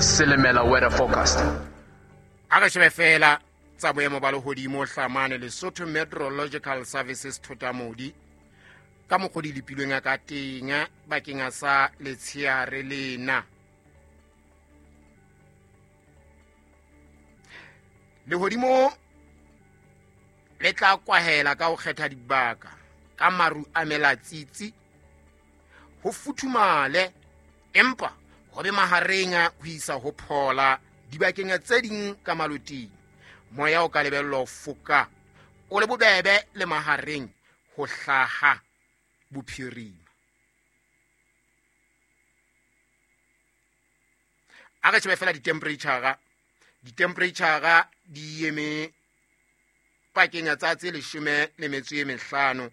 Silimela weather forecast. A re shebe fela tsa boemo ba lehodimo hlamane Lesotho Meteorological Services Thotamodi ka mokgwa di lepilweng ka teng bakeng sa letsheare lena. Lehodimo le tla kwahela ka ho kgetha dibaka ka maru a melatsitsi, ho futhumale empa ho be mahareng ho isa ho phola dibakeng tse ding ka maloting. Moya o ka lebellwa ho foka o le bobebe le mahareng ho hlaha bophirima. A re shebe fela ditemperature. Ditemperature di eme pakeng tsa tse 15 le 25.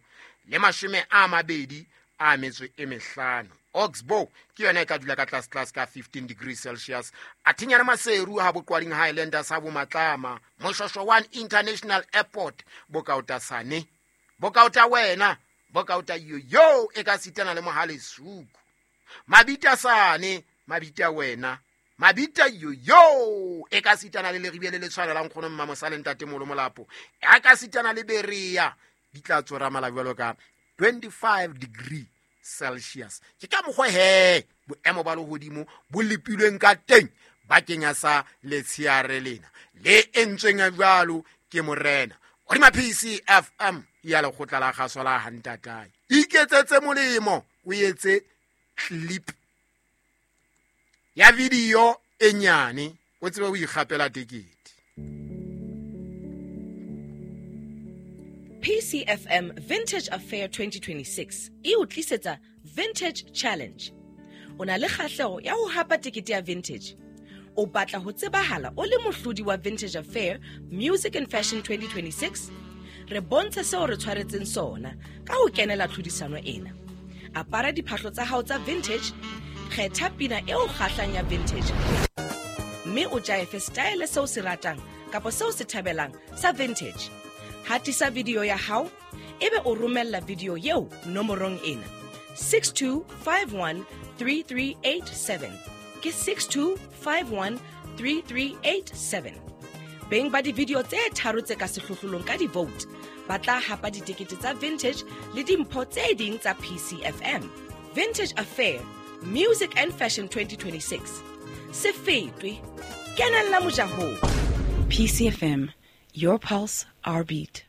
Oxbow ke yona e tla dula ka tlase tlase ka 15 degrees Celsius. Athinyana Maseru ha Boqwading Highlanders ha Bomatlama, Moshosho 1 International Airport, Bokautasane, Bokauta wena, Bokauta yo e ka sitana le Mohale Suku. Mabita sane, mabita wena, mabita yo e ka sitana le Leribe le le tshwanelang kgono mma mosale ntate Molo Molapo. E ka sitana le Berea, di tla tsora mala jwalo ka 25 degree Celsius. Ke ka mokgwa he boemo ba lehodimo bo lepilweng ka teng bakeng sa letsheare lena le entsweng jwalo ke morena. Hodima PCFM ya lekgotla la kgaso la Hantatae. Iketsetse molemo, o etse clip ya video e nyane, o tsebe ho ikgapela tekete. PCFM Vintage Affair 2026 e o tlisetsa Vintage Challenge. O na le kgahleho ya ho hapa tekete ya Vintage. O batla ho tsebahala o le mohlodi wa Vintage Affair Music and Fashion 2026? Re bontshe seo re tshwaretseng sona ka ho kenela tlhodisano ena. Apara diphahlo tsa hao tsa vintage, kgetha pina e o kgahlang ya vintage, mme o jaefe style seo se ratang kapa seo se thabelang sa vintage. Hatisa video ya hao ebe o romella video eo nomorong ena 62513387. Ke 62513387. Beng ba di-video tse tharo tse ka sehlohlolong ka di-vote ba tla hapa ditekete tsa vintage le dimpho tse ding tsa PCFM. Vintage Affair Music and Fashion 2026. Se fetwe, kenella mojahong. PCFM, your pulse, our beat.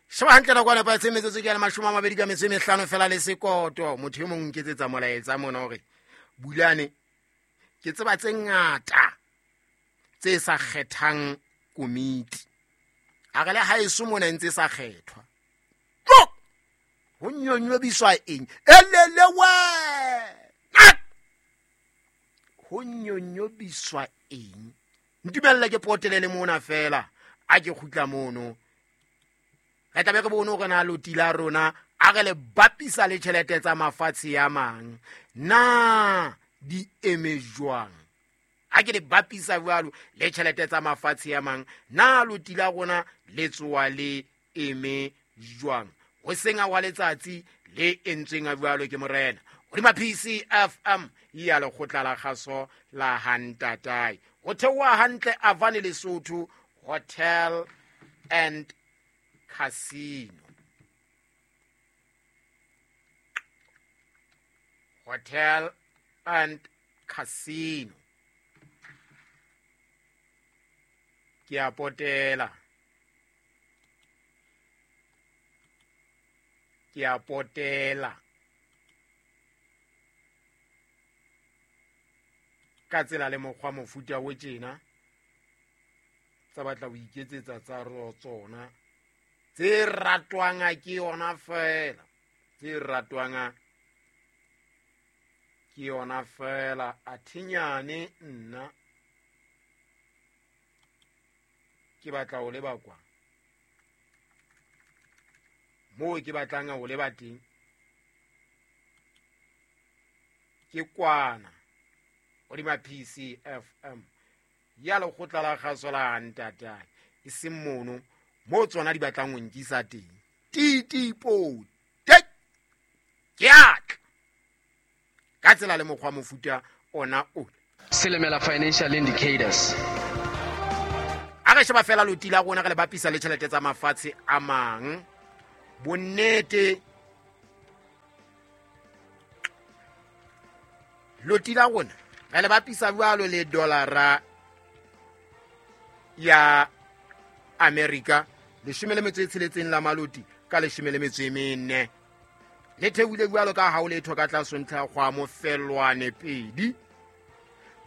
Sheba hantle nako ya nepahetse metsotso ke ya 25 fela le sekoto. Motho e mong nketsetsa molaetsa mona hore Bulane, ke tseba tse ngata tse sa kgethang komiti. A re le haeso mona ntse sa kgethwa. Tlo! Ho nyonyobiswa eng? Elele wena! Ho nyonyobiswa eng? Ntumelle ke potelele mona fela, a ke kgutla mono. Re tlabe re bone hore na loti la rona a re le bapisa le tjhelete tsa mafatshe a mang, na di eme jwang? A ke le bapisa jwalo le tjhelete tsa mafatshe a mang, na loti la rona le tsoa le eme jwang? Ho seng wa letsatsi le entsweng jwalo ke morena. Hodima PCFM ya lekgotla la kgaso la Hantatae. Ho theoha hantle Avane Lesotho Hotel and Casino. Hotel and Casino. Ke a potela. Ke a potela. Ka tsela le mokgwa mofuta o tjena tsa batla ho iketsetsa tsa tsona tse ratwang ke yona fela, tse ratwang ke yona fela. Athinyane nna ke batla ho leba kwa moo ke batlang ho leba teng ke kwana hodima PCFM ya lekgotla la kgaso la Hantatae, e seng mono moo tsona di batlang ho nkisa teng. Titipo te ke atla ka tsela le mokgwa mofuta ona o. Silimela Financial Indicators. A re sheba fela loti la rona re le bapisa le tjhelete tsa mafatshe a mang. Bonnete loti la rona re le bapisa jwalo le dollara ya America 16 la maloti ka 14. Le theohile jwalo ka ha o letho ka tlase ntlha kgwa mofelwane pedi.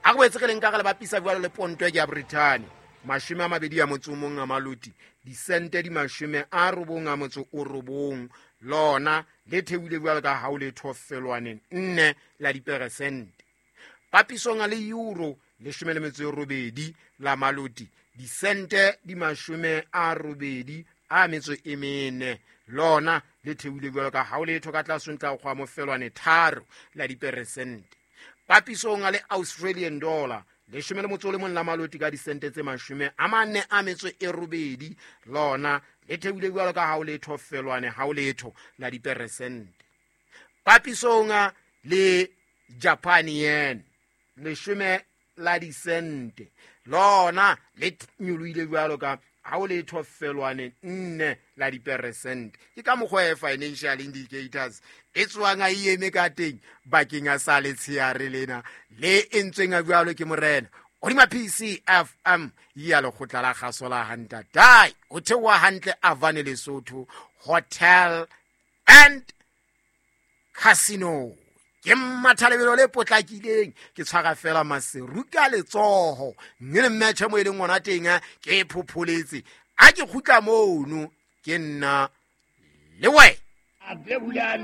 A re boetse re le nka re le bapisa jwalo le ponto ya Britain 21 a maloti disente di 99 lona le theohile jwalo ka ha o letho felwane 4 la diperesente. Papisong le euro 18 la maloti disente di 84 lona le theohile jwalo ka ha o letho ka tlase ntlha kgwa mofelwane 3 la diperesente. Papisong le Australian dollar 11 la maloti ka disente tse 48 lona le theohile jwalo ka ha o letho felwane ha o letho la diperesente. Papisong le Japan yen 10 la disente lona le nyolohile jwalo ka ha o letho felwane 4 la diperesente. Ke ka mokgwa e Financial Indicators e tswang a eme ka teng bakeng a sa letsheare lena le entsweng a jwalo ke morena hodima PCFM ya lekgotla la kgaso la Hantatai o theoha hantle Avane Lesotho Hotel and Casino. Ke mmatha lebelo le potlakileng ke tshwara fela maseru ka letsoho mme le mmetjhe mo e leng ngwana teng ke phopholetse a ke kgutla mono ke nna le wena.